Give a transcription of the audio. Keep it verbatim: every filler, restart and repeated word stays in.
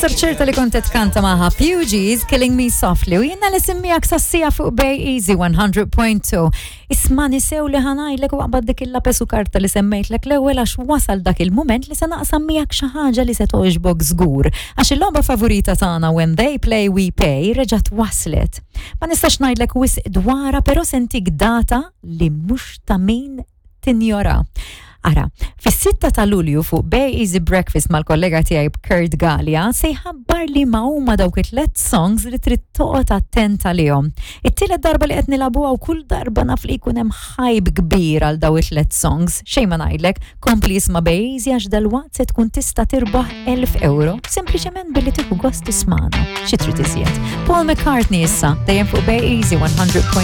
Ninsab ċerta li kont tkanta magħha Fugees, Killing Me Softly, u jiena li semmijak sassija fuq Bay Easy one hundred point two. Isma' nisew li ħa ngħidlek u aqbad dik il-lapes u karta li semmejtlek l-ewwel, għax wasal dak il-moment li se naqsam miegħek xi ħaġa li se togħġbok żgur. Għax il-logħba favorita tagħna, When They Play We Pay, reġgħet waslet. Ma nistax ngħidlek wisq dwarha, però se ntik data li mhux ta' min tinjora. Ara, fis-sitta ta' Lulju fuq Bay Easy Breakfast mal-kollega tiegħi Kurt Gallia se jħabbar li ma huma dawk it-tlet songs li trid toqgħod attent għalihom. It-tielet darba li qed nilagħbuha u kull darba naf li jkun hemm hype kbir għal daw it-tlet songs. Xejn ma ngħidlek, kompli isma' Bay Easy, għax dalwaqt se tkun tista' tirbaħ elf euro sempliċement billi tieħu gost tismana. Xi trid iżjed? Paul McCartney issa, dejjem fuq Bay Easy one hundred point two.